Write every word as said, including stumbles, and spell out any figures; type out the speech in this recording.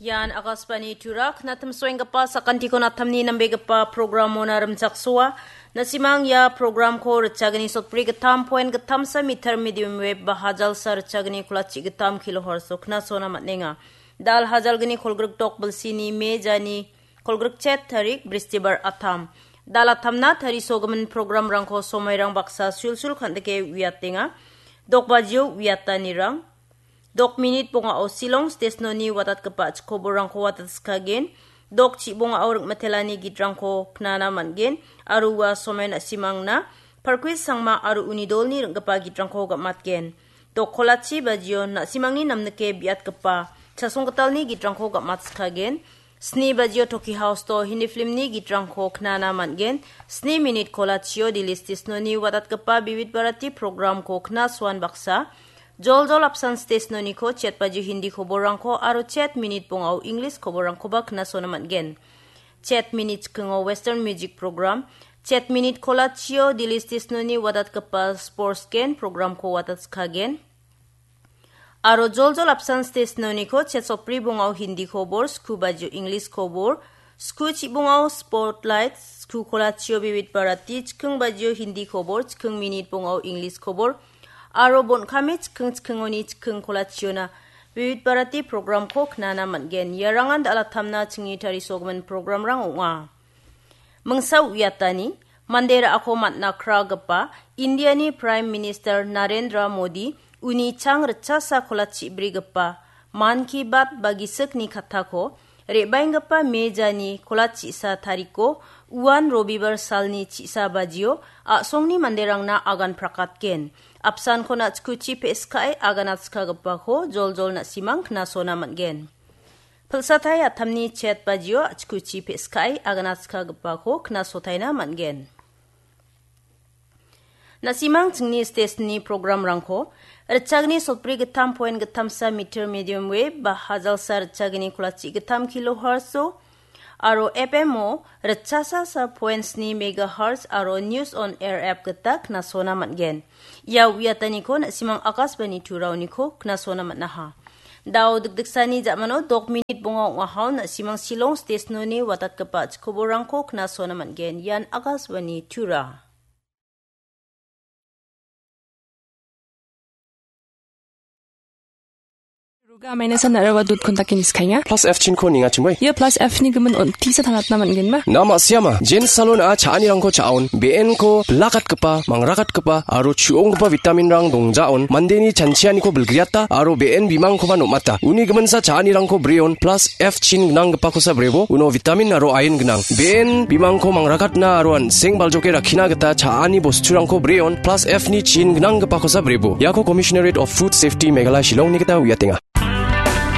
Ian Akashvani Tura, knatimsoenggipa sakantikon atamni nambegipa programona rimchaksoa. Nasimang ia programko ritchagni sotbri gittam poen gittamsa meter medium wave ba hajalsa ritchagni kolachi gittam kilohertz-o knasona man·enga. Dal hajalgni kolgrik dok bilsini me jani kolgrik chet tarik bristibar atam. Dal atamna tarisogimin programrangko somoirang baksa sulsul kan·dike uiatenga. Dok bajio uiatanirang. Dok minit bongao Shillong stesnoni watatgipa chikoborangko watatskagen. Dok chibongao ringmitelani gitrangko knana man·gen. Aro ua somen na·simangna Parkwis Sangma aro uni dolni ring·gipa gitrangko gam·atgen. Dok kolachi bajio na·simangni namnike biatgipa chasonggitalni gitrangko gam·atskagen. Sni bajio Toki House-o Hindi filmni gitrangko knana man·gen. Sni minit kolachio Delhi stesnoni watatgipa Vividh Bharati programko knasoan baksa. Joljol apsan stesnoniko chet bajio Hindi koborrangko aro chet minit bongao English koborrangkoba knasona man·gen. Chet minit chikingo Western music program, chet minit kolachio Delhi stesnoni watatgipa sports gen programko watatskagen. Aro joljol apsan stesnoniko chet sopri bongao Hindi kobor, sku bajio English kobor, sku chibongao spotlight, sku kolachio Vividh Bharati, chiking bajio Hindi kobor, chiking minit bongao English kobor, aro bon·kame chiking chikingoni chiking kolachiona Vividh Bharati programko knana man·gen. Iarangan dal atamna chingni tarisogimin programrang ong·a. Mingsa uiatani, mande ra·ako man·na kragipa Indiani Prime Minister Narendra Modi uni chang ritchasa kolachi brigipa Mann Ki Baat ba gisikni kattako re·baenggipa me jani kolachisa tariko uan Robibar salni chisa bajio a·songni manderangna agan prakatgen. Apsanko na·chikuchi pe·skae aganatskagipako joljol na·simang knasona man·gen. Pilsatai atamni chet bajio a·chikuchi pe·skae aganatskagipako knasotaina man·gen. Na·simang chingni stesni programrangko ritchagni sotbri gittam poen gittamsa meter medium wave ba hajalsa ritchagni kolachi gittam kilohertz-o aro F M-o ritchasa sa poen sni megahertz aro News on Air app gita knasona man·gen. Ia uiataniko na·simang Akashvani Turaoniko knasona man·aha. Dao dikdiksani ja·mano dok minit bonga ong·ahao na·simang Shillong stesnoni watatgipa chikoborangko knasona man·gen. Ian Akashvani Tura. Ruga amaina san nara wadut kontakin iskainga. Plus F chinko ninga chingwei. Ia plus F ni gimin on tisa tanatna man·genma? Na ma·siama, Jen Salon a cha·anirangko cha·on, be·enko bilakatgipa, mangrakatgipa, aro chu·onggipa vitaminrang dongjaon, mandeni chanchianiko bilgriata, aro be·en bimangkoba nom·ata. Uni giminsa cha·anirangko breon, plus F chin gnanggipakosa brebo, uno vitamin aro iron gnang. Be·en bimangko mangrakatna aro an·seng baljoke rakkina gita cha·ani bosturangko breon, plus F ni chin gnanggipakosa brebo. Iako Commissionerate of Food Safety Meghalaya Shillongni gita uiatenga.